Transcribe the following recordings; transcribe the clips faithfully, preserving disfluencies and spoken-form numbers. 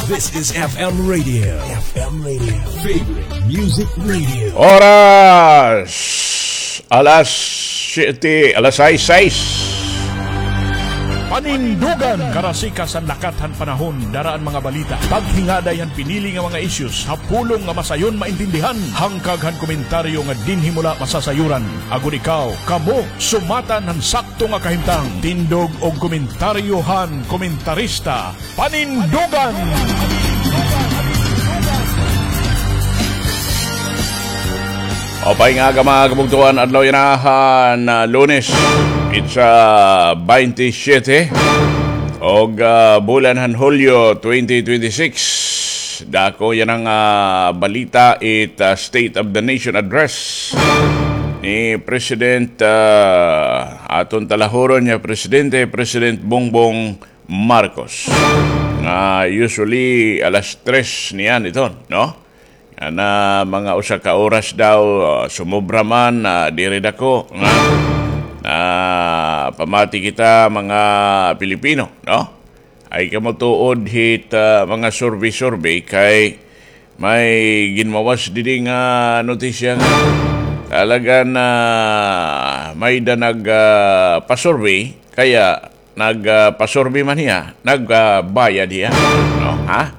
This is F M Radio. F M Radio. Favorite Music Radio. Oras! Alas siyete, alas sais, sais. Panindugan! Karasikas han lakat han panahon, dara an mga balita. Paghingaday han pinili nga mga issues, ha pulong nga masayon maintindihan. Hangkag han komentaryo nga dinhi mo la masasayuran. Agod ikaw, kamo, sumatan han sakto nga kahimtang. Tindog og komentaryo han komentarista. Panindugan! Maupay nga aga, mga kabugtoan, adlaw yana han, ah, Lunes. It's, ah, twenty-seven. Og, ah, bulan han Hulyo twenty twenty-six. Dako yana nga, ah, balita it, ah, State of the Nation Address ni President, ah, aton talahuron nga presidente, President Bongbong Marcos. Nga usually alas tres niyan iton, no? Nga mga usa ka oras daw, ah, sumobra man, ah, diri dako nga, ah, pamati kita mga Pilipino, no? Ay kamo tuod hit, ah, mga survey-survey kay may ginmawas didi nga notisya nga talaga na may da nag, ah, pasurvey, kaya nag, ah, pasurvey man hiya, nag, ah, bayad hiya, no? Ha?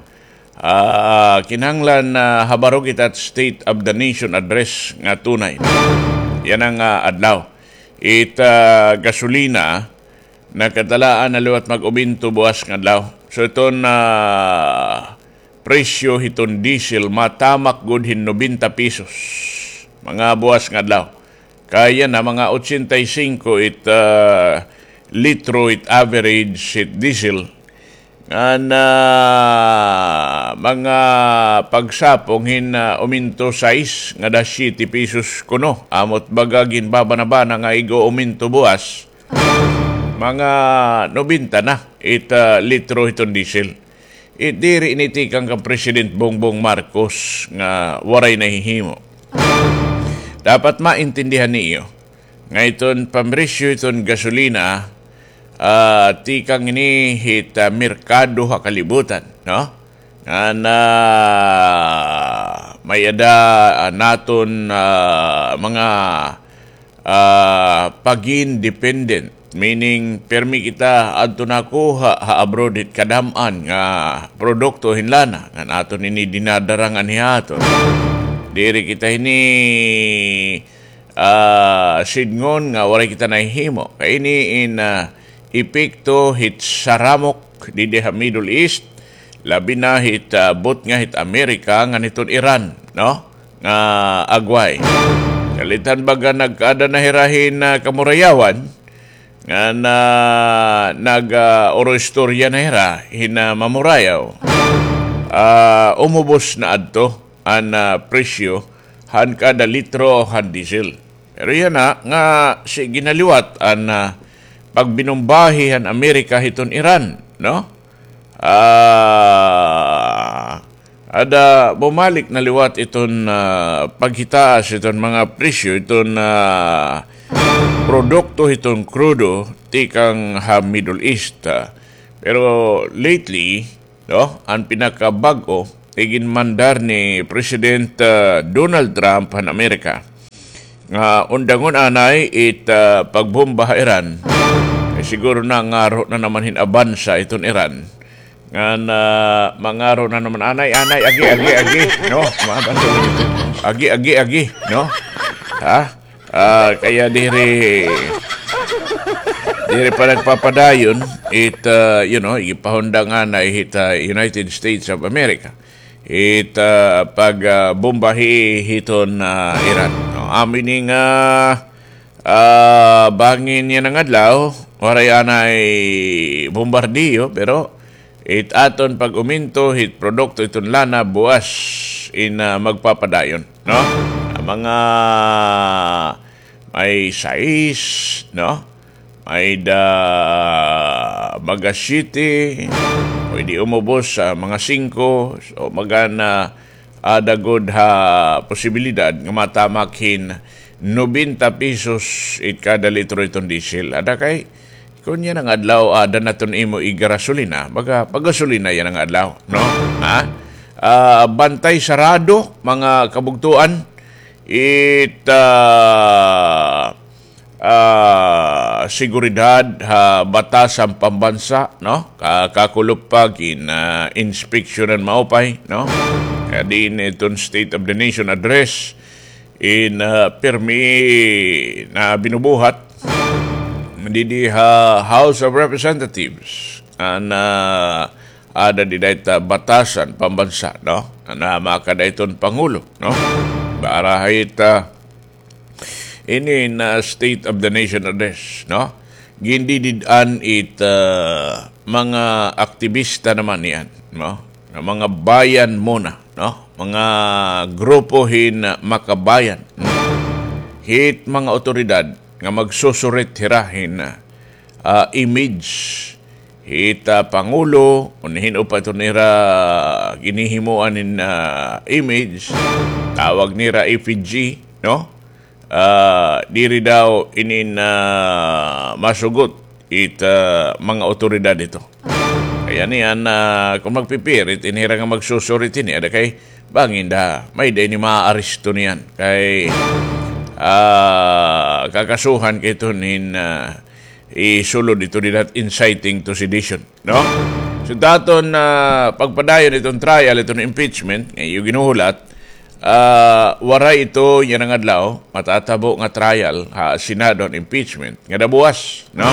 Ah, kinahanglan, ah, habaro kita State of the Nation Address nga tunay. Yana nga, ah, adlaw. It, ah, gasolina, nakatalaan na liwat mag-umento buwas nga adlaw. So, iton, ah, presyo hiton diesel, matamak gud hin nobenta pesos. Mga buwas nga adlaw. Kay yana, mga ochenta y cinco it, ah, litro it average it diesel. Ngan mga pagsapong hin, ah, uminto sais ngada siyete pesos kuno. Amo it baga ginbabanabana nga ig-uuminto buwas. Mga nobenta na it, ah, litro hiton diesel. It diri ini tikang kan President Bongbong Marcos nga waray nahihimo. Dapat maintindihan niyo nga iton pamresyo iton gasolina, ah, tikang ini hit, ah, merkado ha kalibutan, no? Ngan may-ada, ah, naton, ah, mga, ah, pagin dependent, meaning pirmi kita adto nakuha ha abroad hit kadam-an nga produkto hin lana ngan aton ini dinadara nganhi ha aton. Diri kita ini ah, sidngon nga waray kita nahihimo. Kay ini in, ah, epekto hit saramok didi ha Middle East, labi na hit, ah, butnga hit Amerika ngan hiton Iran, no? Nga agway. Kalit han baga nagkaada na hira hin, ah, kamurayawan, ngan, ah, nag, ah, oro istorya na hira hin, ah, mamurayaw. Ah, umubos na adto an, ah, presyo han kada litro han diesel. Pero yana nga sige na liwat an, ah, pagbinumbahi han Amerika hiton Iran, no? Ah, ada bumalik na liwat iton, ah, paghitaas iton mga presyo iton, ah, produkto hiton krudo tikang ha Middle East, ah. Pero lately, no, an pinakabag-o, iginmandar ni President, ah, Donald Trump han Amerika nga undangon anay it, ah, pagbomba ha Iran. Kay siguro nangaro na naman hin abansa iton Iran. Ngan mangaro na naman anay, anay, agi, agi, agi, no? Mga bansa, agi, agi, agi, no? Ha? Ah, kaya diri, diri pa nagpapadayon it, ah, you know, igipahundang anay hit, ah, United States of America. It, ah, pag, ah, bombahi hiton, ah, Iran. No, amo ini nga, ah, bangin yana nga adlaw, waray anay bombardiyo, pero it aton pag-uminto hit produkto hiton lana buwas in, ah, magpapadayon, no? An mga may sais, no? May-ada baga siyete, pwede umubos sa mga singko, so magana ada gud ha posibilidad nga matamak hin nobenta pesos it kada litro iton diesel. Ada kay Kon yana nga adlaw, ah, aada na iton imo igarasolina, baga pagasolina yana nga adlaw, no? Ha? Ah, bantay sarado, mga kabugtoan, it, ah, ah, seguridad ha batasan pambansa, no? Ka-, kakulop pa gin, ah, inspeksyonan maupay, no? Kay diin iton State of the Nation Address in, ah, pirmi na binubuhat didi ha House of Representatives. An, ah, aada dida it, ah, batasan pambansa, no? An, ah, makada iton Pangulo, no? Para ha it, ah, ini na State of the Nation Address, no? Gindidid-an it, ah, mga aktibista naman niyan, no? Nga mga bayan muna, no? Mga grupo hin makabayan, no? Hit mga awtoridad nga magsusurit hira hin, ah, image hit, ah, Pangulo, o hin-o pa iton ira ginhihimuan hin, ah, image, tawag nira effigy, no? Ah, diri daw inin, ah, masugot it, ah, mga awtoridad hito. Kay niyan, ah, kon magpipirit, ini hira nga magsusurit ini, ada kay bangin da, may-ada ini maaaresto niyan. Kay, ah, kakasuhan kay iton hin, ah, isulod ito dida inciting to sedition, no? So, daton, ah, pagpadayon iton trial, iton impeachment, nga iyo ginhuhulat, ah, waray ito yana nga adlaw, matatabo nga trial ha Senado an impeachment, ngada buwas, no?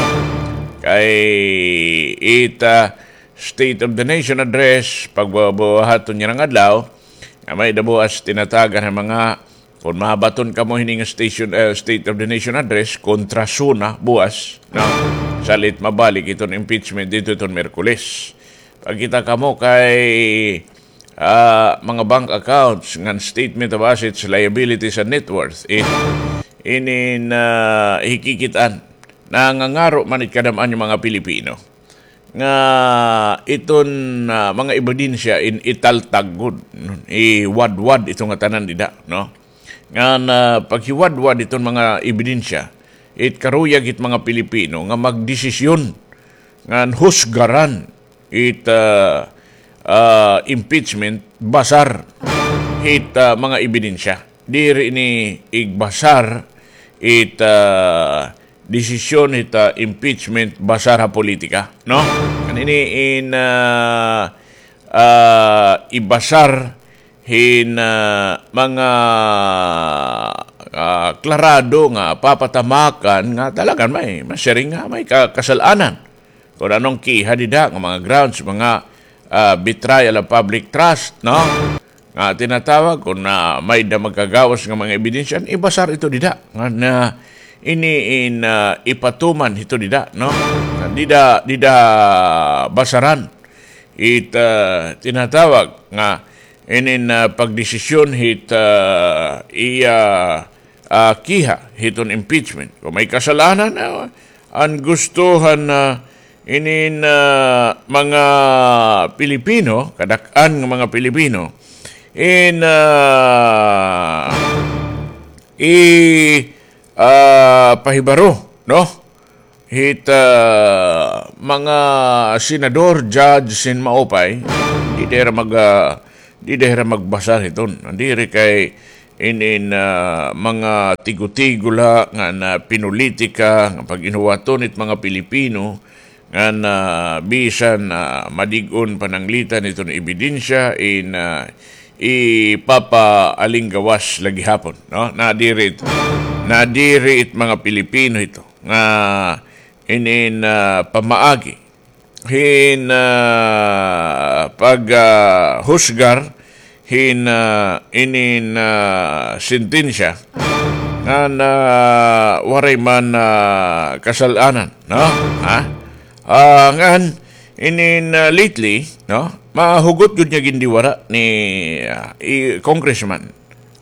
Kay it, ah, State of the Nation Address, pagbubuhaton yana nga adlaw, nga may-ada buwas tinatagan ha mga Kon mabaton kamo hini nga station, eh, State of the Nation Address, kontra SONA buwas, no? Salit mabalik iton impeachment didto iton Miyerkules. Pagkita kamo kay, ah, mga bank accounts, ngan statement of assets, liabilities, and net worth, it, inin, ah, hikikit-an. Nangangaro man it kadam-an nga mga Pilipino nga iton, ah, mga ebidensya in italtag gud, iwadwad ito nga tanan dida, no? Ngan, ah, paghiwadwad iton mga ebidensya, it karuyag it mga Pilipino nga magdesisyon ngan husgaran it, ah, ah, impeachment basar hit, ah, mga ebidensya. Diri ini igbasar it, ah, desisyon hit, ah, impeachment basar ha politika, no? Ngan ini in, ah, ah, ibasar hin, ah, mga, ah, klarado nga papatamakan nga talagan may masiring nga may ka-, kasal-anan. Kon ano an kiha dida nga mga grounds, mga, ah, betrayal of public trust, no? Nga tinatawag, kon, ah, may-ada magkagawas nga mga ebidensya, ibasar ito dida. Ngan ini in, ah, ipatuman hito dida, no? Dida, dida basaran it, ah, tinatawag nga inin, ah, pagdesisyon hit, ah, iya, ah, kiha hiton impeachment. Kon may kasal-anan, ah, an gusto han, ah, inin, ah, mga Pilipino, kadak-an nga mga Pilipino, in, ah, i, ah, pahibaro, no? Hit, ah, mga senador, judge, sin maupay, dida hira mag-, ah, dida hira magbasar hiton. Diri kay inin, ah, mga tigo-tigo la nga na pinulitika nga pag-inhuwaton hit mga Pilipino nga na bisan, ah, madig-on pananglitan hiton ebidensya in, ah, ipapaalinggawas la gihapon, no? Nadiri it, nadiri it mga Pilipino hito nga inin, ah, pamaagi hin, ah, pag, ah, husgar hin, ah, inin, ah, sentensya nga na waray man, ah, kasal-anan, no? Ha? Ah, ngan inin, ah, lately, no? Mahugot gud nga gindiwara ni, ah, i-, Congressman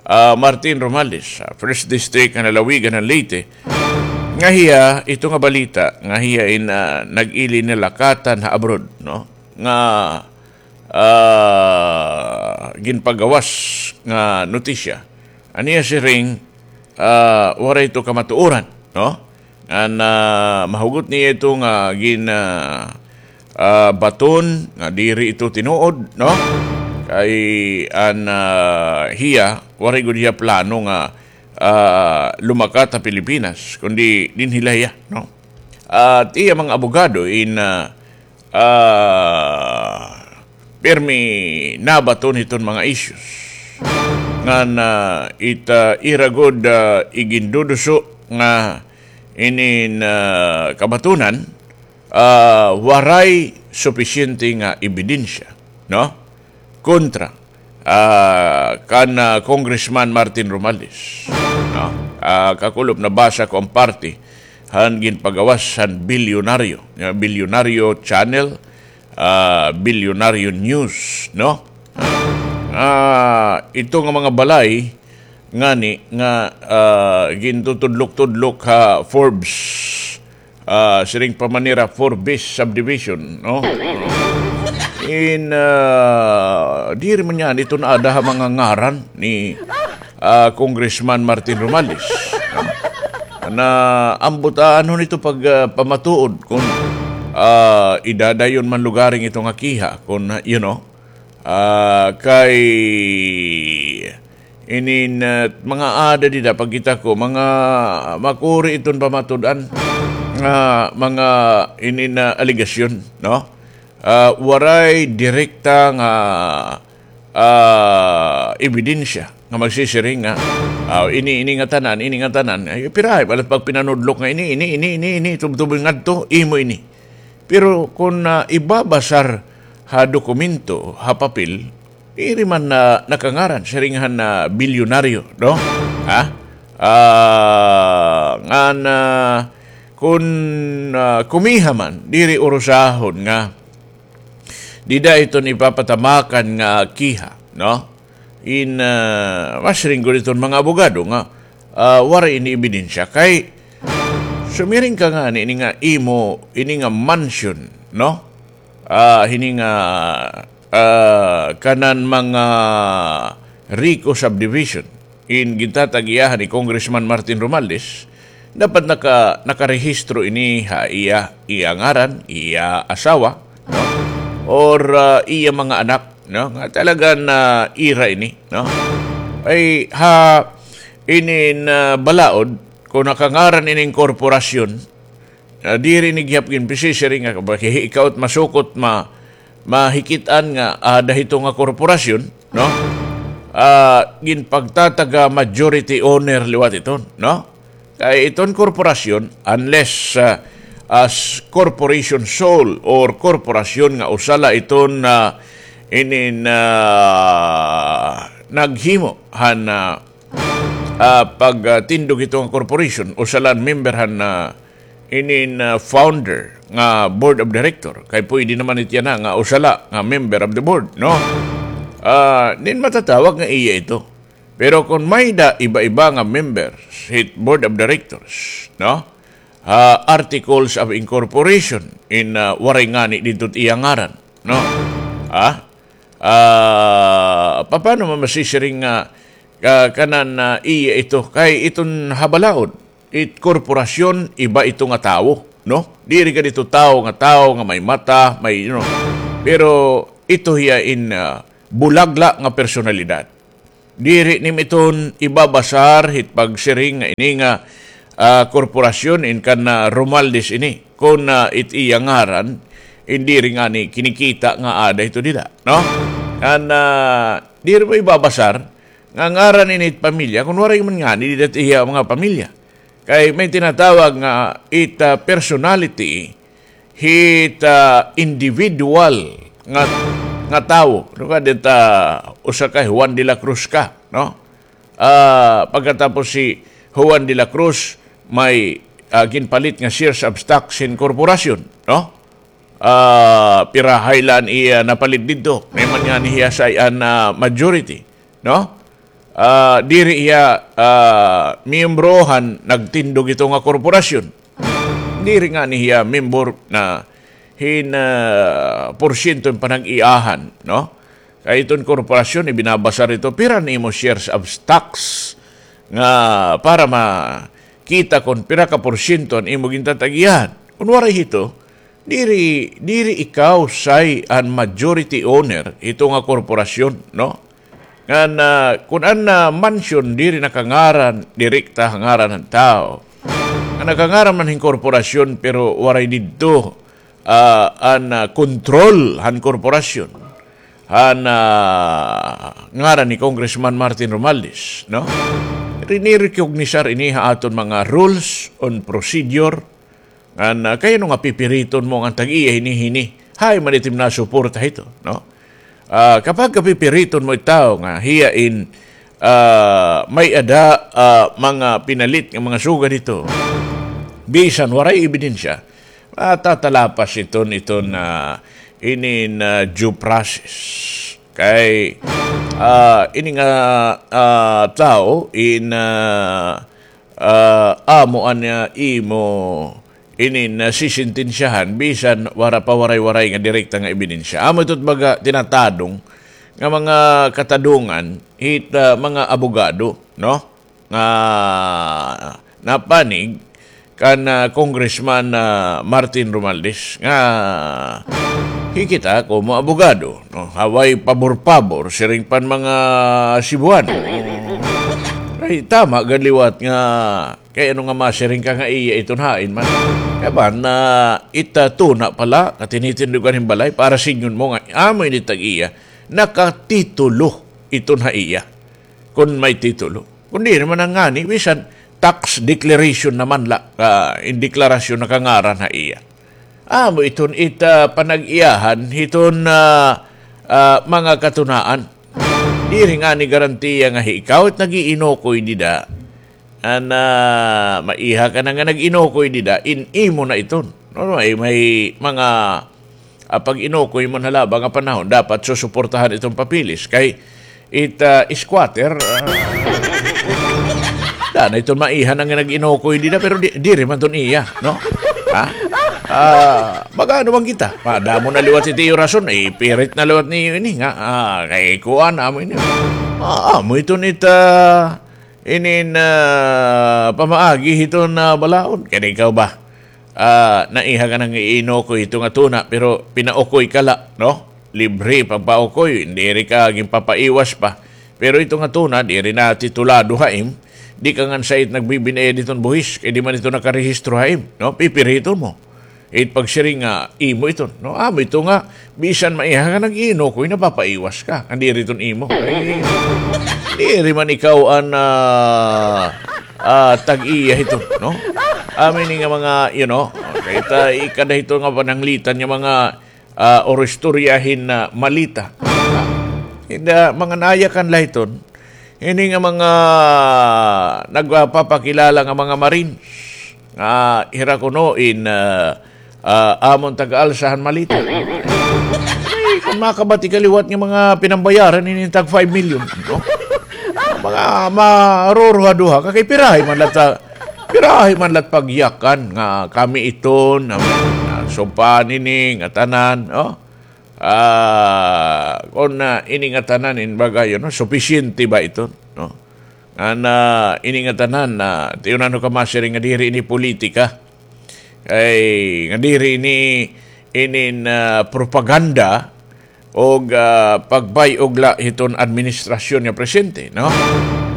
ah, Martin Romualdez, ah, First District nga lalawigan han Leyte, nga hiya, ito nga balita, nga hiya in, ah, nag-ili nilakatan ha abroad, no? Nga, ah, ginpagawas nga notisya. An iya siring, ah, waray ito kamatuoran, no? An, ah, mahugot niya ito nga gin, ah, ah, baton nga diri ito tinuod, no? Kay an, ah, hiya, waray gud hiya plano nga, ah, lumakat ha Pilipinas, kundi dinhi la hiya, no? At iya mga abogado in, ah, ah, pirmi nabaton hiton mga issues. Ngan, ah, it, ah, ira gud, ah, iginduduso nga inin, ah, kabatonan, ah, waray supisyente nga ebidensya, no? Kontra, ah, kan, ah, Congressman Martin Romualdez, no? Ah, kakulop nabasa ko an parte han ginpagawas han Bilyonaryo, ah, Bilyonaryo Channel, ah, Bilyonaryo News, no? Ah, ito nga mga balay ngani nga, ah, gintutudlok-tudlok ha Forbes, ah, siring pa man nira Forbes subdivision, no? In, ah, diri man niyan ito naada ha mga ngaran ni, ah, Congressman Martin Romualdez, no? Na ambot aanhon ito pag, ah, pamatuod kon, ah, idadayon man lugaring ito nga kiha, kon, you know, ah, kay inin, ah, mga ada dida, pagkita ko, mga makuri iton pamatud-an nga mga inin, ah, alegasyon, no? Ah, waray direkta nga, ah, ebidensya nga magsisiring nga, ah, ini, ini nga tanan, ini nga tanan. Ay, pirahay, balat pagpinanudlok nga ini, ini, ini, ini, ini, tubtubon ngadto, imo ini. Pero kon, ah, ibabasar ha dokumento, ha papel, diri man na nakangaran siring han, ah, bilyonaryo, no? Ha? Ah, ngan, ah, kon, ah, kumiha man, diri urusahon nga dida iton ipapatamakan nga kiha, no? In, ah, masiring gud iton mga abogado nga, ah, waray ini ebidensya. Kay sumiring ka ngani ini nga imo, ini nga mansion, no? Ah, hini nga, ah, kanan mga Rico subdivision in gintatag-iyahan ni Congressman Martin Romualdez, dapat naka-, nakarehistro ini ha iya, iya ngaran, iya asawa, no? Or, ah, iya mga anak, no? Nga talaga na ira ini, no? Ay, ha, inin, ah, balaod, kon nakangaran ining korporasyon, ah, diri ini gihap ginpisisiring nga, ikaw it masukot, ma-, mahikit-an nga ada hito nga korporasyon, no? Ah, ginpagtataga majority owner liwat iton, no? Kay iton korporasyon, unless, ah, as corporation sole or korporasyon nga usa la iton, ah, inin, ah, naghimo han, ah, ah, pagtindog hito nga corporation, usa la an member han, ah, inin, ah, founder nga board of director. Kay pwede naman it yana nga usa la nga member of the board, no? Ah, then matatawag nga iya ito. Pero kon may-ada iba-iba nga members hit board of directors, no? Ah, articles of incorporation in, ah, waray ngani didto it iya ngaran, no? Ah? Ah, papano man masisiring nga, ah, kanan, ah, iya ito? Kay iton ha balaod, it korporasyon, iba ito nga tawo, no? Diri gad ito tawo nga tawo nga may mata, may, you know. Pero ito hiya in, ah, bulag la nga personalidad. Diri nim iton ibabasar hit pagsiring nga ini nga, ah, korporasyon in kan, ah, Romualdez ini. Kon, ah, it iya ngaran, in diri ngani kinikita nga ada ito dida, no? An, ah, diri mo ibabasar nga ngaran ini it pamilya, kon waray man ngani dida it iya mga pamilya. Kay may tinatawag nga it, ah, personality, hit, ah, individual nga, nga tawo. Ano ka, dit, ah, usa ka Juan de la Cruz ka, no? Ah, pagkatapos si Juan de la Cruz may, ah, ginpalit nga shares of stocks hin korporasyon, no? Ah, pirahay la an iya napalit didto. May man ngani hiya sa an, ah, majority, no? Ah, diri hiya, ah, miyembro han nagtindog hito nga korporasyon. Diri ngani hiya member na hin, ah, porsyento hin panag-iyahan, no? Kay iton korporasyon, ibinabasar ito, pira an imo shares of stocks nga para ma-, kita kon pira ka porsyento an imo gintatag-iyahan. Kon waray hito, diri, diri ikaw say an majority owner hito nga korporasyon, no? Ngan, ah, kon an, ah, mansyon diri nakangaran direkta ha ngaran han tawo, ngan nakangaran man hin korporasyon, pero waray didto, ah, an, ah, kontrol han korporasyon, han, ah, ngaran ni Congressman Martin Romualdez, no? Rinirecognisar ini ha aton mga rules on procedure, ngan, ah, kay ano nga pipiriton mo ngan tag-iya hini-hini? Hain man it im nasuporta hito, no? Ah, kapag kapipiriton mo it tawo nga hiya in, ah, may-ada, ah, mga pinalit nga mga sugad hito, bisan waray ebidensya, ah, tatalapas iton, iton, ah, inin, ah, due process. Kay, ah, ini nga, ah, tawo in, ah, ah, amo an, ah, imo inin, ah, sisentensyahan bisan wara pa waray-waray nga direkta nga ebidensya. Amo ito baga tinatadong nga mga katadongan hit, ah, mga abogado, no? Nga napanig kan, ah, Congressman, ah, Martin Romualdez nga hikita komo abogado, no? Ha way pabor-pabor, siring pan mga Cebuano. Ay, tama gad liwat nga kay ano nga masiring ka nga iya iton hain man. Kay ba na ita tuna pala, katinitindugan hin balay, para sidngon mo nga amo ini tag-iya, nakatitulo iton ha iya. Kon may titulo. Kon diri man ngani, bisan tax declaration naman la, ah, in deklarasyon nakangaran ha iya. Amo iton ita panag-iyahan hiton, ah, ah, mga katunaan. Diri ngani garantiya nga hi ikaw it nag-iinukoy dida. An, ah, maiha ka na nga nag-inukoy dida, in imo na iton. No, may, may mga, ah, pag-inukoy man ha laba nga panahon, dapat susuportahan iton papeles. Kay it, ah, squatter, ah, dana iton maiha na nga nag-inukoy dida, pero di, diri man iton iya, no? Ha? Ah, mag-ano man kita? Madamo na liwat it iyo rason, ipirit na liwat niyo ini nga, ah, kay kuan, amo ini. Ah, amo iton it, ah, inin, ah, pamaagi hiton, ah, balaod. Kay ikaw ba? Ah, naiha ka na nga iinukoy hito nga tuna, pero pinaukoy ka la, no? Libre pagpaukoy, diri ka ginpapaiwas pa. Pero ito nga tuna, diri na titulado ha im, di ka ngan sayop nagbibin-e diton buhis, kay di man ito nakarehistro ha im, no? Pipiriton mo. It pagsiring nga imo iton, no? Amo ito nga, bisan maiha nga nag-iinukoy, napapaiwas ka. Nga diri iton imo. Ay, diri man ikaw an, ah, ah, tag-iya hito, no? Amo ini nga mga, you know, kay ta, ikada hito nga pananglitan nga mga, ah, or istorya hin, ah, malita. Inda, mga nayakan la hiton, ini nga mga nagpapakilala nga mga Marines, nga hira kuno in, ah, ah, amon taga-alsa han malita. Ay, kon makabati ka liwat nga mga pinambayaran ini tag five million, no? Mga maruruha-duha ka kay pirahi man la ta, pirahi man la pagyakan nga kami iton, na, na sumpa nini, nga tanan, no? Ah, kon, ah, ini nga tanan in baga, you know, supisyente ba ito, no? Ngan, ah, ini nga tanan, ah, tiunan ko ka masiring nga diri ini politika. Kay, nga diri ini, inin, ah, propaganda o, ah, pagbay-og la hiton administrasyon nga presente, no?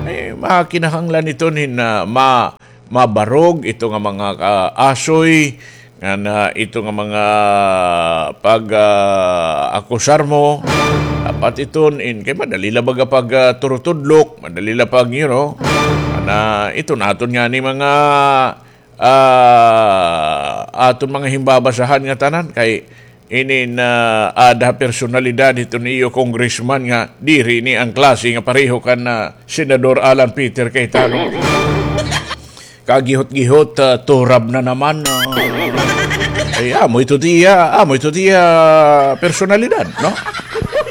Ay, makinahanglan iton hin, ah, ma-, mabarog ito nga mga, ah, asoy, ngan, ah, ito nga mga pag, ah, akusar mo, dapat iton in, kay madali la baga pag, ah, turutudlok, madali la pag, you know, na iton aton ngani mga, ah, aton mga himbabasahan nga tanan, kay inin, ah, ada personalidad hiton iyo congressman nga diri ini an klase nga pareho kan, ah, Senador Alan Peter Cayetano. Kagihot-gihot, ah, turab na naman, ah. Ay, amo ito tiya, amo ito tiya personalidad, no?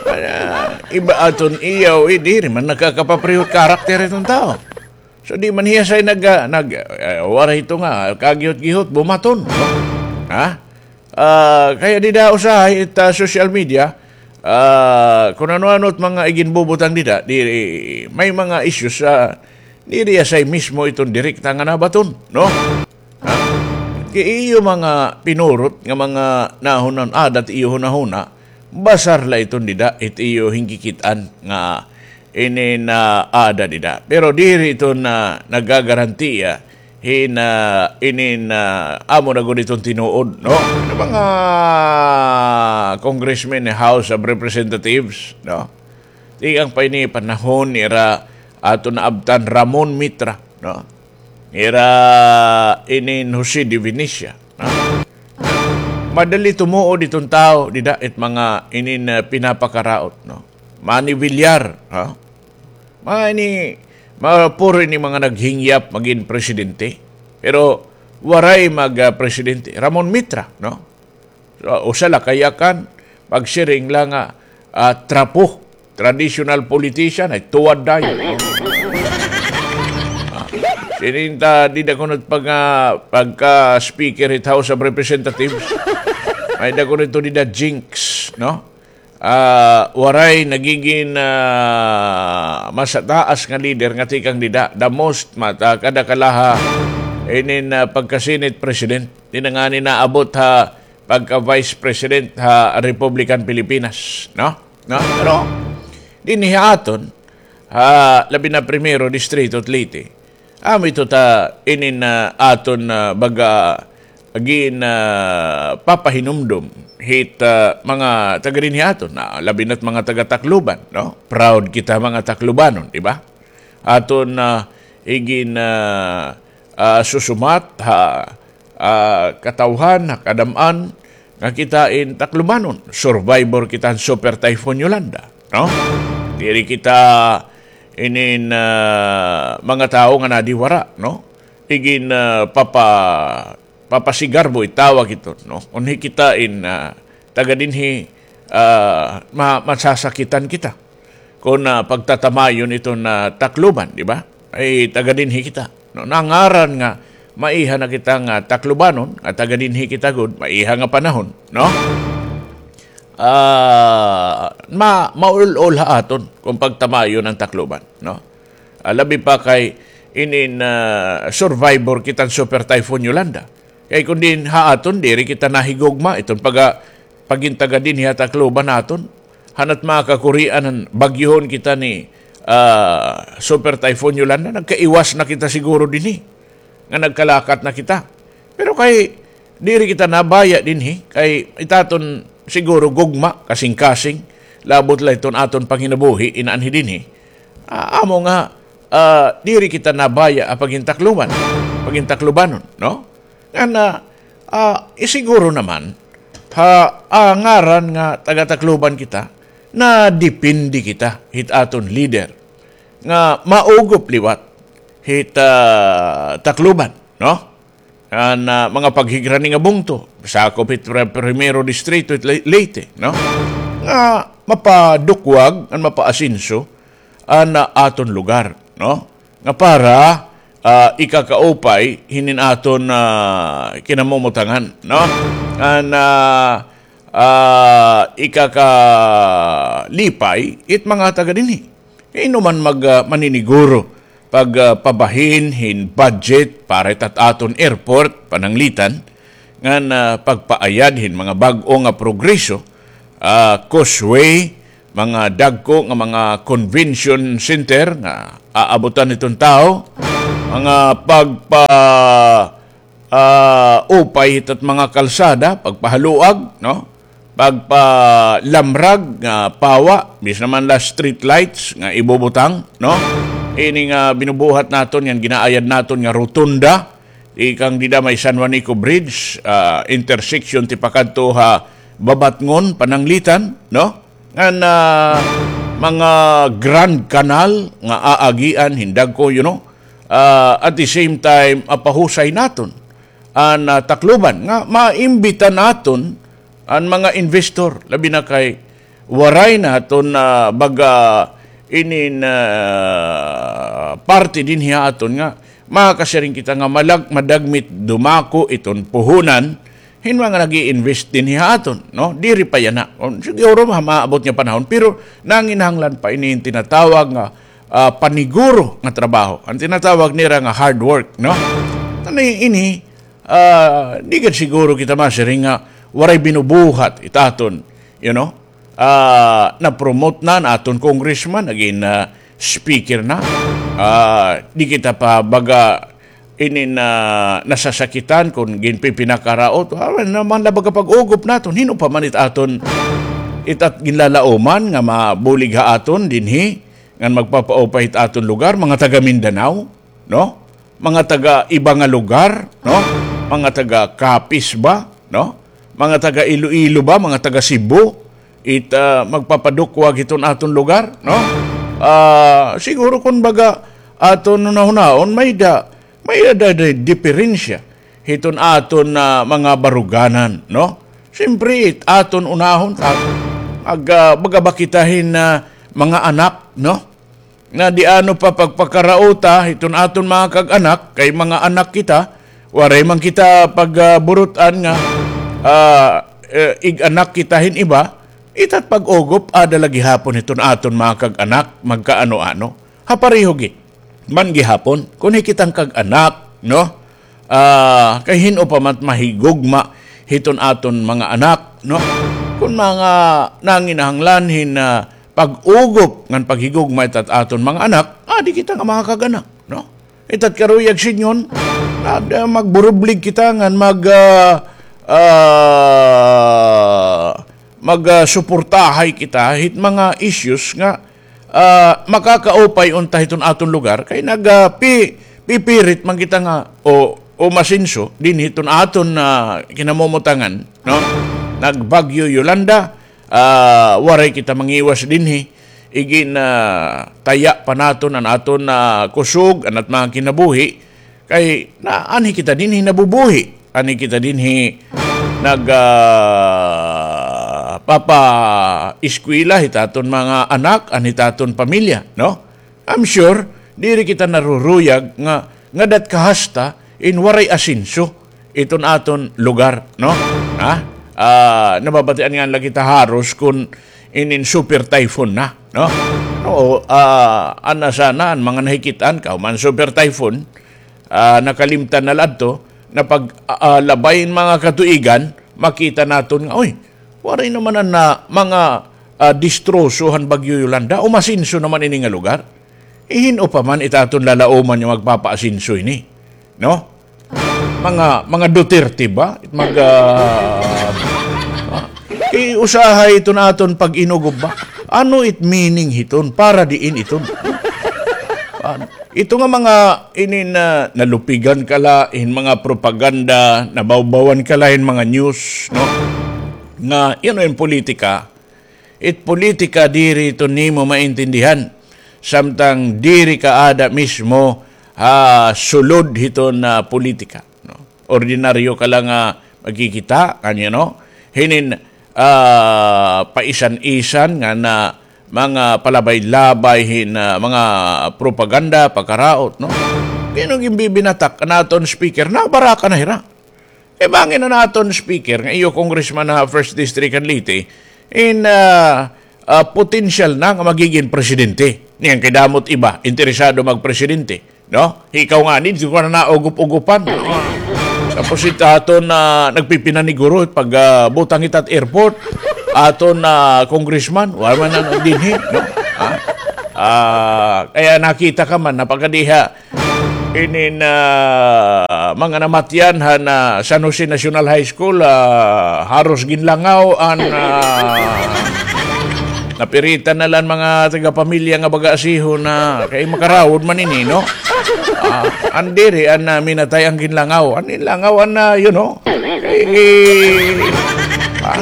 Ah, iba aton iya, eh, diri man nakakapaprihot karakter iton tawo. So, di man hiya say nag-, ah, nag-, ah, waray ito nga, kagihot-gihot, bumaton, no? Ha? Ah, kaya dida usahay it, ah, social media, ah, kun ano-ano it mga iginbubutang dida, di, may mga issues, ah, Diri asay mismo iton direkta nga nabaton, no? Ha? Kay iyo mga pinurot nga mga nahunan, adat iyo hunahuna, basar la iton dida, it iyo hingkikit-an nga ini na ada dida. Pero diri iton na nagagarantiya hin, ah, inin, ah, amo na gud iton tinuod, no? Ano, mga congressmen ni House of Representatives, no? Tikang pa ini panahon nira aton naabtan Ramon Mitra, no? Nira inin Jose de Venecia, no? Madali tumuod iton tawo dida it mga inin, ah, pinapakaraot, no? Manny Villar, ha? Mga ini, mga puro ini mga naghingyap magin presidente. Pero waray mag, ah, presidente. Ramon Mitra, no? So, usa la kayakan, pagsiring la nga, ah, trapo, traditional politician, ay tuwad dayon, no? Ah, sininta, dida kuno pag, ah, pagka speaker hit House of Representatives, may-ada kuno ito dida jinx, no? Ah, waray nagigin, ah, masataas nga leader nga tikang dida. The most mata kada kalaha inin, ah, pagka-Senate President. Di na ngani naabot ha pagka-Vice President ha Republican Pilipinas, no? No? Pero dinhi ha aton, ha, labi na Primero Distrito, Leyte, amo ito ta inin, ah, aton, ah, baga, gin, ah, papahinumdom hit, ah, mga taga dinhi aton, na labi na't mga taga Tacloban, no? Proud kita mga Taclobanon, di ba? Aton, ah, igin, ah, ah, susumat ha, ah, katawhan, ha kadam-an nga kita in Taclobanon. Survivor kita han Super Typhoon Yolanda, no? Diri kita inin, ah, mga tawo nga nadiwara, no? Igin, ah, papa-, papasigarbo itawag ito, no? Unhi kita in, ah, taga dinhi, ah, ma-, masasakitan kita kon, ah, pagtatamayon iton, ah, Tacloban, di ba? Ay taga dinhi kita, no? Nangaran nga maiha na kita nga Taclobanon, nga taga dinhi kita gud, maiha nga panahon, no? Ah, ma-, maul-ol ha aton kon pagtamayon an Tacloban, no? Ah, labi pa kay inin, ah, survivor kita han Super Typhoon Yolanda. Kay kon diin ha aton, diri kita nahigugma iton paga-, pagin taga dinhi ha Tacloban naton. Han it mga kakurian han bagyohon kita ni, ah, Super Typhoon Yolanda, nagkaiwas na kita siguro dinhi. Nga nagkalakat na kita. Pero kay diri kita nabaya dinhi, kay it aton siguro gugma, kasingkasing, labot la iton aton panginabuhi, inaanhi dinhi. Ah, amo nga, ah, diri kita nabaya ha pagin Tacloban, pagin Taclobanon, no? Ngan, ah, ah, isiguro naman, ha, ah, ngaran nga taga Tacloban kita, nadepende kita hit aton leader nga maugop liwat hit, ah, Tacloban, no? An, ah, mga paghigrani nga bungto, sakop hit Pri-, Primero Distrito hit Le-, Leyte, no? Nga mapadukwag, ngan mapaasenso an, ah, aton lugar, no? Nga para, ah, ikakaupay hinin aton, ah, kinamumutangan, no? An, ah, ah, ikakalipay it mga taga dinhi. Kay ano man mag, ah, maniniguro pag, ah, pabahin hin budget para hit at aton airport, pananglitan, ngan, ah, pagpaayad hin mga bag-o nga progreso, ah, causeway, mga dagko nga mga convention center nga aabutan hiton tawo, mga pagpa-, ah, upay hit at mga kalsada, pagpahaluag, no? Pagpalamrag nga pawa, bisan man la street lights nga ibubutang, no? Ini nga binubuhat naton, ngan ginaayad naton nga rotunda, tikang dida may San Juanico Bridge, ah, intersection tipakadto ha Babatngon, pananglitan, no? Ngan, ah, mga Grand Canal nga aagian hin dagko, you know, ah, at the same time, apahusay naton an, ah, Tacloban nga maimbita naton an mga investor, labi na kay waray naton, ah, baga inin, ah, parte dinhi ha aton nga makasiring kita nga malag-, madagmit dumako iton puhunan hin mga nag-i-invest dinhi ha aton, no? Diri pa yana. Kon siguro ma-, maabot nga panahon, pero nanginahanglan pa ini hin tinatawag nga ah, paniguro nga trabaho. An tinatawag nira nga hard work, no? Tani ini, ah, di gad siguro kita masiring nga waray binubuhat it aton, you know? Ah, na-promote na an aton congressman, nagin, ah, speaker na. Ah, di kita pa baga inin, ah, nasasakitan kon ginpipinakaraot. Awan naman na baga pag-ugop naton. Hin-o pa man it aton, it at ginlalauman nga mabulig ha aton dinhi, ngan magpapaupay it aton lugar, mga taga Mindanao, no? Mga taga iba nga lugar, no? Mga taga Capiz ba, no? Mga taga Iloilo ba, mga taga Cebu, it, ah, magpapadukwag hiton aton lugar, no? Ah, siguro kon baga aton hunahunaon, may-ada, may-ada di-, diperensya hiton aton, ah, mga baruganan, no? Siyempre, it aton unahon, ta-, mag-, ah, baga ba kita hin, ah, mga anak, no? Nga di ano pa pagpakarauta hiton aton mga kag-anak, kay mga anak kita, waray man kita pagburut-an nga, ah, eh, ig-anak kita hin iba, ita't pag-ugop, ada la gihapon hiton aton mga kag-anak, magkaano-ano. Ha pareho gid man gihapon, kon hi kitang kag-anak, no? Ah, kay hin-o pa man mahigugma hiton aton mga anak, no? Kon mga nanginahanglan hin, ah, pag-ugop ngan paghigugma itat aton mga anak, adi kita nga mga kag-anak, no? Itat karuyag sidngon, ad-, magburublig kita ngan mag, ah, ah, mag, ah, suportahay kita hit mga issues nga, ah, makakaupay unta hiton aton lugar, kay nag, ah, pi-, pipirit man kita nga o, umasenso dinhi hiton aton, ah, kinamumutangan, no? Nag-Bagyo Yolanda, ah, waray kita mangiwas dinhi. Igin, ah, taya pa naton an aton, ah, kusog, an at mga kinabuhi. Kay na, anhi kita dinhi nabubuhi. Anhi kita dinhi nag, ah, papa-eskwela hit aton mga anak, an hit aton pamilya, no? I'm sure, diri kita naruruyag nga, nga dat kahasta in waray asenso iton aton lugar, no? Ha? Ah, nababatian nga lagi ta haros kun inin super typhoon na, no? No, ah, ana sana an mga nahikit-an kahuman super typhoon, ah, nakalimtan na la adto, na pag, ah, ah, labay in mga katuigan, makita naton nga, uy, waray naman an, ah, mga, ah, distroso han Bagyo Yolanda, umasenso naman ini nga lugar. Ihin-o pa man it aton lalauman nga magpapaasenso ini, no? Mga, mga Duterte ba? Mag, ah, ah, iusahay iton aton pag-inugop ba? Ano it meaning hiton? Para diin iton? Ah, ito nga mga inin, ah, nalupigan ka la hin mga propaganda, nabawbawan ka la hin mga news, no? Nga, you know, in politika, it politika diri ito nimo maintindihan. Samtang diri ka ada mismo ha sulod hiton, ah, politika, no? Ordinaryo ka la nga magkikita, ano, no? Hinin, ah, paisan-isan nga na mga palabay-labay hin, ah, mga propaganda, pagkaraot, no? Kay ano ginbibinatak an aton speaker, nabaraka na hira. Kay bangin an aton speaker, nga iyo congressman ha First District han Leyte, in, ah, ah, potensyal na nga magigin presidente. Niyan kay damo it iba, interesado magpresidente. No? Ikaw ngani, di ko na naugup-ugupan. Tapos it aton, ah, nagpipinaniguro, pag, ah, butang ita hit airport, aton, ah, congressman, wala man na dinhi, no? Ha? Ah, kaya nakita ka man, napakadiha, inin, ah, mga namatyan han, ah, San Jose National High School, ah, haros ginlangaw an, ah, napiritan na la an mga taga-pamilya nga baga asihon na kay makarawod man ini, no? Ah, an diri, an, ah, minatay an ginlangaw. An ginlangaw, an, ah, you know? Eh, ah,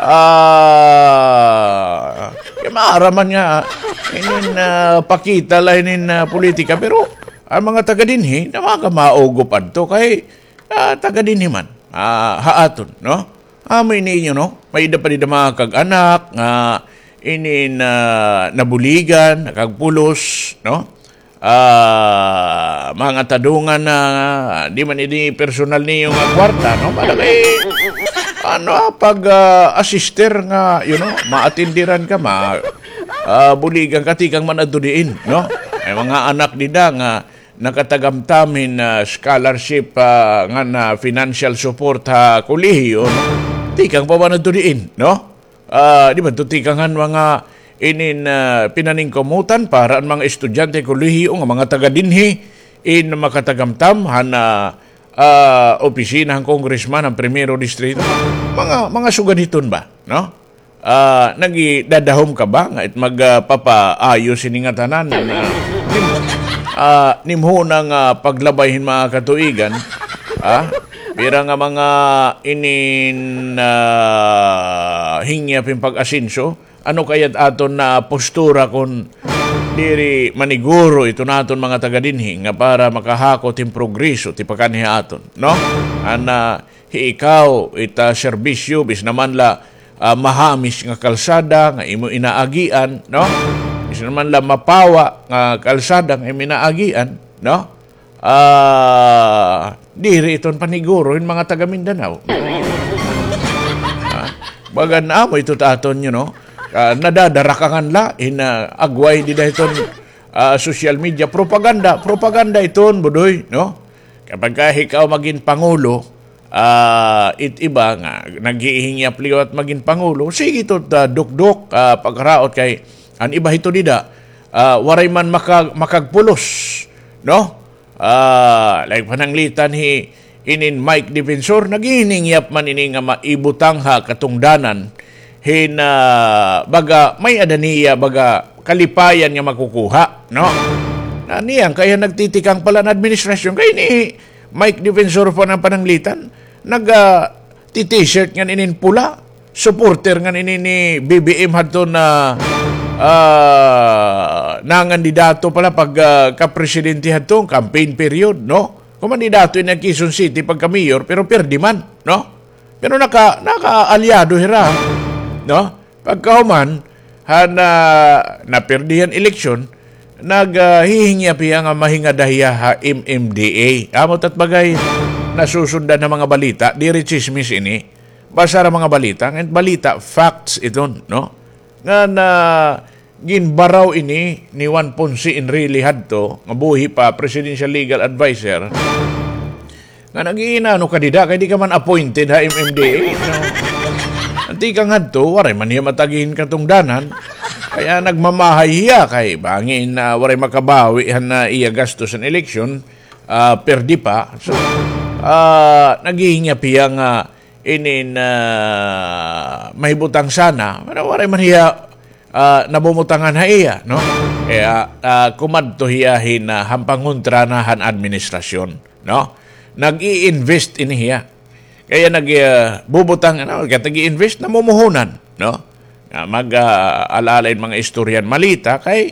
ah, kay maaram man nga, inin, ah, pakita la inin, ah, politika, pero an mga taga dinhi, na mga kamaugo pa adto kay, ah, taga dinhi man, ah, ha aton, no? Amo ini inyo, no? May-ada pa dida mga kag-anak nga inin, ah, nabuligan, nakagpulos, no? Ah, mga tadungan na, di man ini personal niyo nga kwarta, no? Para kay, ano, ah, pag, ah, assister nga, you know, maatindiran ka, ma-, ah, buligan ka, tikang man adto diin, no? May mga anak dida nga nakatagamtam hin, ah, scholarship, ah, ngan financial support ha kolehiyo, no? Tikang pa ba ngadto diin, no? Ah, di ba, tikang han mga inin, ah, pinaningkamutan para an mga estudyante kolehiyo nga mga taga dinhi in makatagamtam han, ah, ah, opisina han congressman han Primero Distrito. Mga, mga sugad hiton ba, no? Ah, nagidadahom ka ba nga it mag, ah, papaayo sini ngatanan, ah, nim-, ah, nimhuna nga paglabay hin mga katuigan, ah, pira nga mga inin, ah, hingyap hin pag-asenso, ano kay it aton nga postura kon diri maniguro iton aton mga taga dinhi nga para makahakot hin progreso tipakanhi ha aton, no? An, ah, hi ikaw, it, ah, serbisyo, bisan man la, ah, mahamis nga kalsada nga imo inaagian, no? Bisan man la mapawa nga kalsada nga imo inaagian, no? Ah, diri iton paniguro hin mga taga Mindanao. Ah, baga amo ito ta aton, you know, ah, nadadarakangan la hin, ah, agway dida hiton, ah, social media. Propaganda, propaganda iton, Budoy, no? Kapag ka ikaw magin pangulo, ah, it iba nga naghihingyap liwat magin pangulo, sige ito ta dukdok, ah, pagraot kay an iba hito dida, ah, waray man maka-, makagpulos, no? Ah, like pananglitan hi inin Mike Defensor, naghihingyap man ini nga maibutang ha katungdanan hin, ah, baga may-ada niya, baga kalipayan nga makukuha, no? Na niyan kay nagtitikang pa la an administrasyon, kay ni Mike Defensor pa an pananglitan, nag, ah, ti-t-shirt ngan inin pula, supporter ngan ini ni B B M hadton, ah, nangandidato pa la pag, ah, kapresidente hadto, campaign period, no? Kumandidato ini ha Quezon City pagka-mayor, pero pirdi man, no? Pero naka-, nakaalyado hira, no? Pagkahuman han, ah, napirdi han eleksyon, nag, ah, hihingyap hiya nga mahingada hiya ha M M D A. Amo it at bagay, nasusundan ha mga balita, diri tsismis ini. Basta ha mga balita, ngan balita, facts iton, no? Ngan, ah, ginbaraw ini ni Juan Ponce Enrile hadto, nga buhi pa, presidential legal adviser, nga nag-iinano ka dida, kay di ka man appointed ha M M D A, no? An tikang hadto, waray man hiya matagi hin katungdanan, kaya nagmamahay hiya, kay bangin, ah, waray makabawi han, ah, iya gastos han eleksyon, ah, perdi pa. So, ah, naghihingyap hiya nga inin, ah, mahibutang sana, pero waray man hiya, ah, nabumutangan ha iya, no? Kaya, ah, kumadto hiya hin, ah, han pangontra na han administrasyon, no? Nag-i-invest ini hiya. Kaya nag, ah, bubutang, ano, kaya nag-i-invest, namumuhunan, no? Nga mag, ah, ala-ala hin mga istorya han malita, kay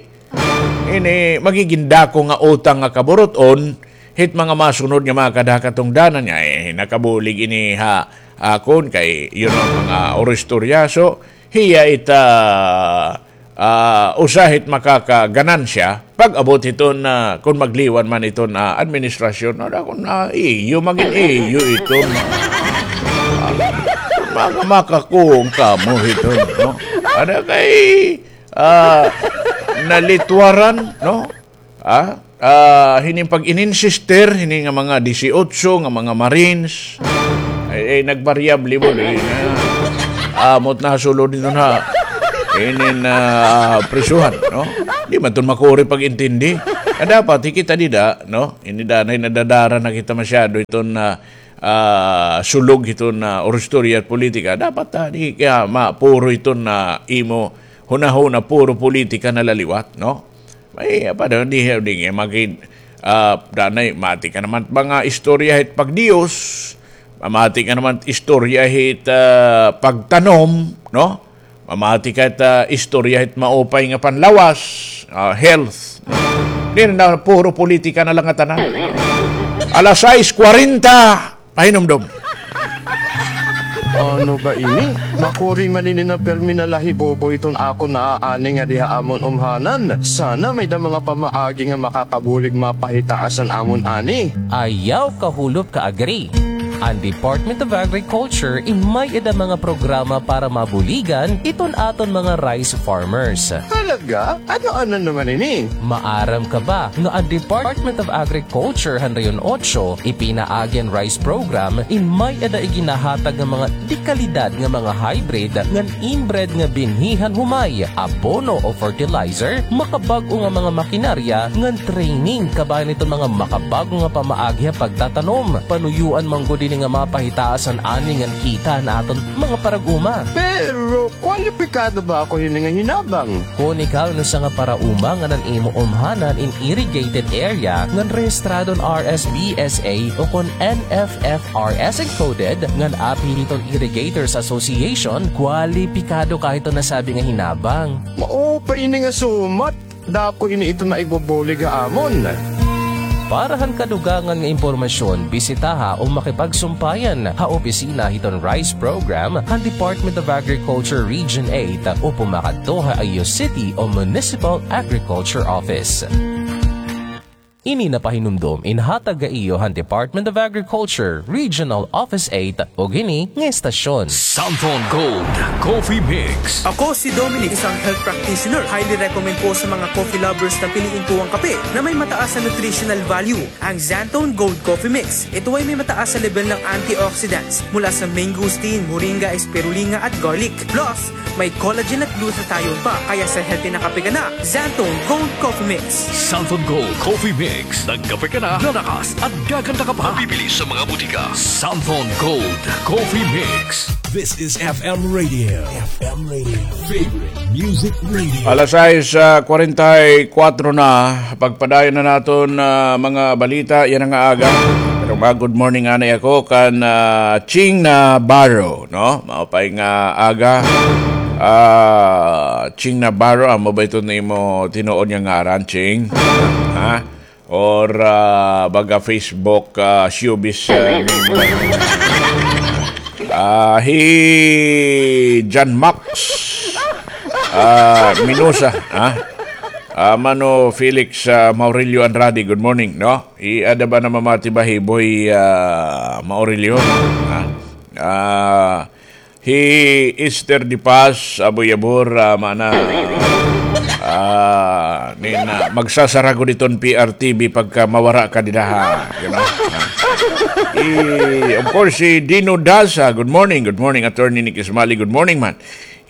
ini magigin dako nga utang nga kaburut-on hit mga masunod nga mga kada ha katungdanan nga, eh, nakabulig ini ha akon kay, you know, mga oristorya. So, hiya it, ah, ah, usa hit makakaganansya pag-abot hiton, ah, kon magliwan man iton, ah, administrasyon. Ada kon, ah, iyo, magin iyo iton. Ah, maka-, makakuwang kamo hiton, no? Ada kay, ah, nalitwaran, no? Ah, ah, hini pag-ininsister, hini nga mga disiotso nga mga Marines, ay, ay, nagbaryable mo, di na. Amot na sulod dito na. Ini na, ah, prisuhan, no? Di man ton makuri pag-intindi. Kaya dapat, hikita dida, no? Ini danay nadadara na kita masyado iton na, ah, sulog iton na oristorya at politika. Dapat, ah, di kaya mapuro iton na imo hunahuna, puro politika na la liwat, no? Ay, apa daw, di, di nga magi-, ah, danay, mati ka naman mga istorya hit pagdiyos, mamati ka naman istorya hit, ah, pagtanom, no? Mamati ka hit, ah, istorya hit maupay nga panlawas, ah, health. Di na, puro politika na lang nga tanan. Alas sais kwarenta, pahinumdom. Ano ba ini? Makuri man ini na pirmi na lahibobo iton akon naaani ngadi ha amon umhanan. Sana may-ada mga pamaagi nga makakabulig mapahitaas an amon ani. Ayaw kahulop ka, Agri. An Department of Agriculture in may-ada mga programa para mabuligan iton aton mga rice farmers. Talaga? Ano-ano naman ini? Maaram ka ba nga an Department of Agriculture han Rehiyon Otso ipinaagi an rice program in may-ada iginahatag nga mga de-kalidad nga mga hybrid ngan inbred nga binhi han humay, abono o fertilizer, makabag-o nga mga makinarya ngan training kabahin iton mga makabag-o nga pamaagi ha pagtatanom. Panuyoan man gud ini nga mapahitaas an ani ngan kita han aton mga parag-uma. Pero kwalipikado ba ako hini nga hinabang? Kon ikaw in usa nga parauma ngan an imo umhanan in irrigated area ngan rehistrado han R S B S A o kon N F F R S encoded ngan apil hiton Irrigators Association, kwalipikado ka hiton nasabi nga hinabang. Mao pa ini nga sumat. Dako ini ito nga igbubulig ha amon. Para han kadugangan nga impormasyon, bisitaha o makipagsumpayan ha opisina hiton rice program han Department of Agriculture Region eight o pumakadto ha iyo city o municipal agriculture office. Ini napahinumdom inhatag ha iyo han Department of Agriculture Regional Office eight ug hini nga estasyon. Santhon Gold Coffee Mix. Ako si Dominic, isang health practitioner. Highly recommend po sa mga coffee lovers na piliin po ang kape na may mataas na nutritional value, ang Xanthone Gold Coffee Mix. Ito ay may mataas na level ng antioxidants mula sa mangosteen, moringa, spirulina at garlic. Plus, may collagen at glutathione pa, kaya sa healthy na kape ka na, Xanthone Gold Coffee Mix. Santhon Gold Coffee Mix. Nagkape ka na, lalakas at gaganda ka pa. Mabibili sa mga butika. Santhon Gold Coffee Mix. This is F M Radio. F M Radio. Favorite Music Radio. Alas sais, ah, kwarenta y kuwatro na. Pagpadayon na naton, ah, mga balita yana nga aga. Pero mag-good morning anay ako kan, ah, Ching Navarro, no? Maupay nga aga. Ah, Ching Navarro, amo ba ito nimo tinuod nga ngaran, Ching? Ha? Or, ah, baga Facebook, ah, showbiz, ah, name? Ah, hi John Max, ah, Minosa, ha? Ah, Mano Felix, ah, Maurilio Andrade, good morning, no? Hi ada ba na mamati ba hi Boy, ah, Maurilio? Ha? Ah, hi Esther De Paz, Aboy Abor, ah, mana, ah, nin, ah, magsasara gud iton P R T V pagka mawara ka dida, ha, you know? Ah. Hi, of course, hi Dino Daza, good morning, good morning, Attorney Nick Ismali, good morning man.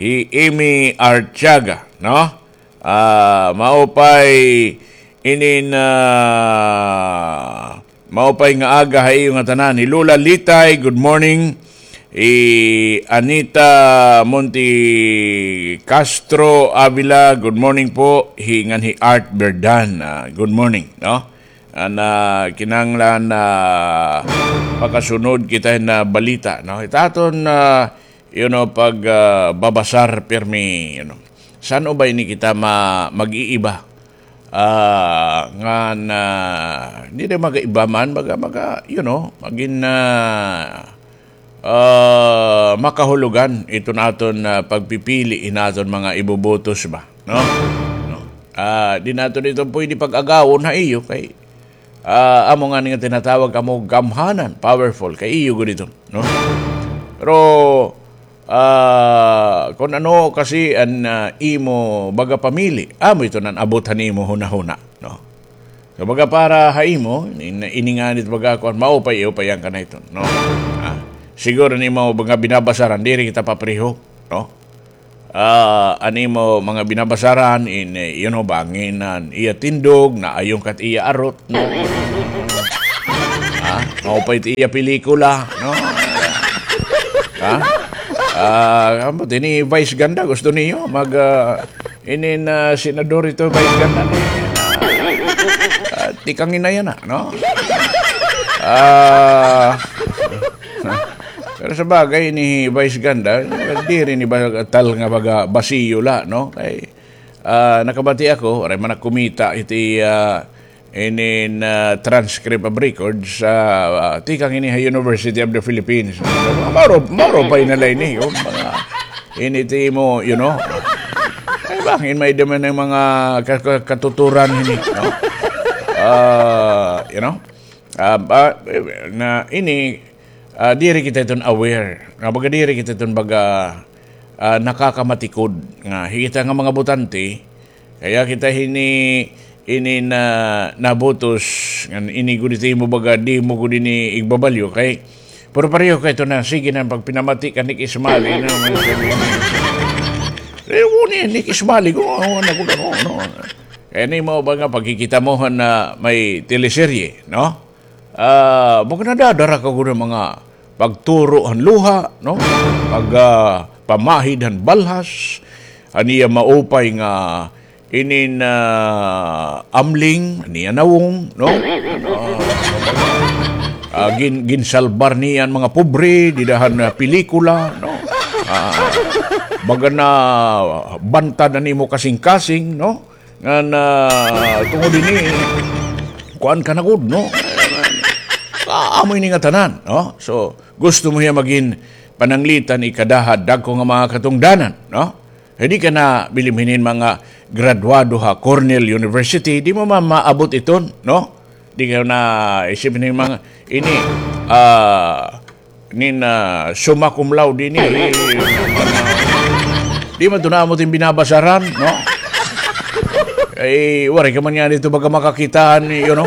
Hi Amy Artiaga, no? Ah, maupay inin, ah, maupay nga aga ha iyo ngatanan. Hi Lola Litay, good morning. Hi Anita Monte Castro Avila, good morning po. Hi, ngan hi Art Berdan, ah, good morning, no? An, ah, kinahanglan, ah, pakasunod kita hin balita, no? Ita aton, ah, you know, pag, ah, babasar pirmi, you know. San-o ba ini kita ma-, mag-iiba? Ah, ngan, ah, diri mag-iiba man, baga, baga, you know, magin, ah, ah, makahulugan iton aton, ah, pagpipili hin aton mga ibubotos ba, no? No. Ah, di naton ito pwede pag-agawon ha iyo kay, ah, amo ngani nga tinatawag kamo gamhanan, powerful, kay iyo gud ito, no? Pero, ah, kon ano kasi an, ah, imo baga pamili, amo ito nan abot han imo hunahuna, no? So, baga para ha imo, in-, ini ngani it baga kuan, maupay, upayan ka na ito, no? Ah, siguro an imo mga binabasaran, diri kita papareho, no? Ah, an imo mga binabasaran, in, eh, you know, bangin an iya tindog, naayon ka it iya arot, no? Ha? Maupay it iya pelikula, no? Ha? Ah, ambot ini Vice Ganda, gusto niyo mag, ah, inin, ah, senador ito, Vice Ganda, no? Ah, tikang ina yana, no? Ah, pero sa bagay, ini Vice Ganda, diri ini ba tal nga baga basiyo la, no? Kay, ah, nakabati ako, waray man nakumita iti, ah, inin, ah, transcript of records, ah, ah, tikang ini ha University of the Philippines. Mauro, mauro pa inalay ni, oh, mga, ini ti mo, you know. Ay, bangin may daman ng mga ka-, ka-, katuturan ini, no? Ah, you know? Ah, ba, na ini, Ah, diri kita iton aware. Nga baga diri kita iton baga, ah, nakakamatikod nga hikita nga mga botante, kaya kita hini, ini na nabutos, ngan ini gud ito imo baga, di mo gud ini igbabalyo kay, pero pareho kay ito na, sige na, pagpinamati ka ni Kismali, no? Pareho ni, ni Kismali, kung ano, ano, ano, ano. Kaya ni mo ba nga pagkikita mo na may teleserye, no? Ah, baga nadadara ka gud mga pagturo han luha, no? Pag, ah, pamahid han balhas, han iya maupay nga inin, ah, amling, han iya nawong, no? Ah, ah, gin-, ginsalbar niya an mga pobre, dida han, ah, pelikula, no? Ah, baga nabantad an imo kasingkasing, no? Ngan, ah, tungod ini, kuan ka na gud, no? Ah, amo ini ngatanan, no? So, gusto mo hiya magin pananglitan, ikada ha dagko nga mga katungdanan, no? Di ka na bilimhinin mga graduado ha Cornell University, di mo man maabot iton, no? Di ka na isip ni mga ini, ah, nin, ah, summa cum laude ini, eh, di man to na amo tin binabasaran, no? Eh, waray ka man niyan dito baga makakitaan, you know?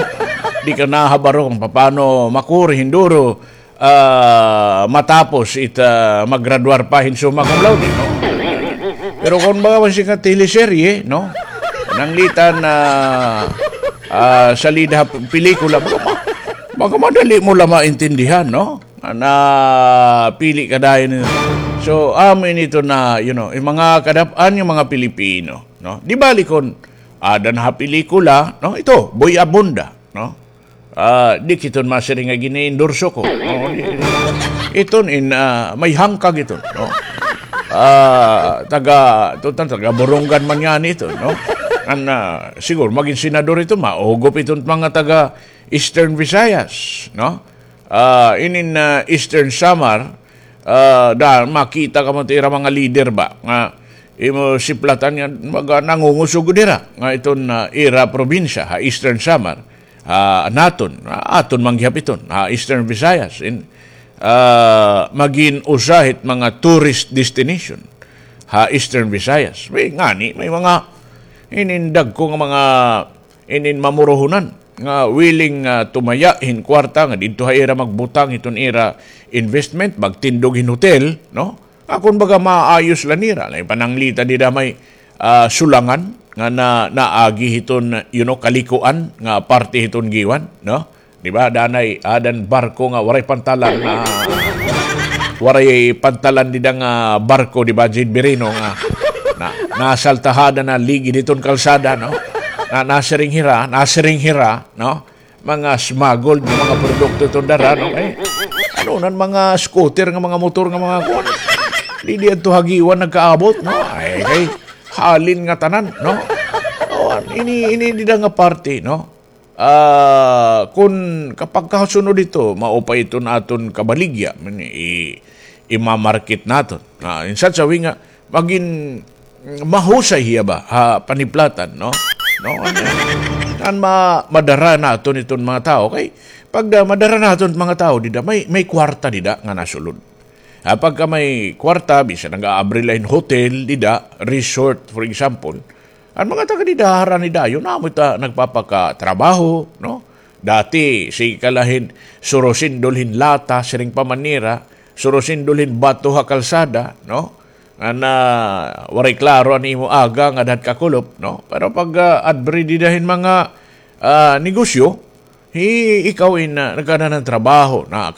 Di ka nahabaro kung paano makuri, hinduro, ah, matapos it, ah, maggraduar pa hin summa cum laude, no? Pero kung baga man siya teleserye, no? Nanglitan na, ah, salida ha pelikula, baga ma-, baga madali mo la maintindihan, no? Napili ka dayon. So, amo ini ito na, you know, yung mga kadap-an, yung mga Pilipino, no? Di bali kon ada na ha pelikula, no? Ito, Boy Abunda, no? Ah, di kiton masiring nga gini-endorso ko. No? Di, iton in, ah, may hangkag iton, no? Ah, taga, tutan, taga Borongan man yan ito, no? An, ah, siguro magin senador ito, maugop iton mga taga Eastern Visayas, no? Ah, inin, ah, Eastern Samar, ah, da, makita ka mo ito ira mga leader ba, nga imo siplatan nga mga nangungusog dira, nga iton, ah, ira probinsya, ha Eastern Samar, ah, naton, ah, aton man gihap iton, ha Eastern Visayas, in, ah, magin usa hit mga tourist destination, ha Eastern Visayas. May ngani, may mga inindag ko nga mga inin mamorohonan nga willing nga tumaya hin kwarta nga didto ha ira magbutang hiton ira investment, magtindog hin hotel, no? Akon baga maayos la nira, la pananglita dida may, ah, sulangan nga na, naagi hiton, you know, kalikuan nga parte hiton Guiuan, no? Di ba? Danay, adan barko nga waray pantalan na, waray pantalan dida nga barko, di ba, Jade Birino, nga na, nasaltahada na ligi diton kalsada, no? Na, nasiring hira, nasiring hira, no? Mga smuggled nga mga produkto iton dara, no? Ay, ano nan mga scooter nga mga motor nga mga kuan. Di, di adto ha Guiuan nagkaabot, no? Ay, kay halin ngatanan, no? O, ini, ini dida nga parte, no? Ah, kun kapag kasunod ito, maupay iton aton kabaligya, man, i-, imamarket naton. Ah, in such a way nga, magin mahusay hiya ba, ha, paniplatan, no? No, ano, an ma-, madara naton iton mga tawo. Kay, pag da, madara naton mga tawo, dida, may, may kwarta dida nga nasulod. Ha, pagka may kwarta, bisan nag-aabri la hin hotel, dida, resort, for example, an mga taga dida, harani dayon, amo ita nagpapakatrabaho, no? Dati, sige ka la hin surusindol hin lata, siring pa man nira, surusindol hin bato ha kalsada, no? Nga na, waray klaro an imo aga nga dad kakulop, no? Pero pag, ah, abri dida hin mga, ah, negosyo, hi-, ikaw in, ah, nagkanan hin trabaho, na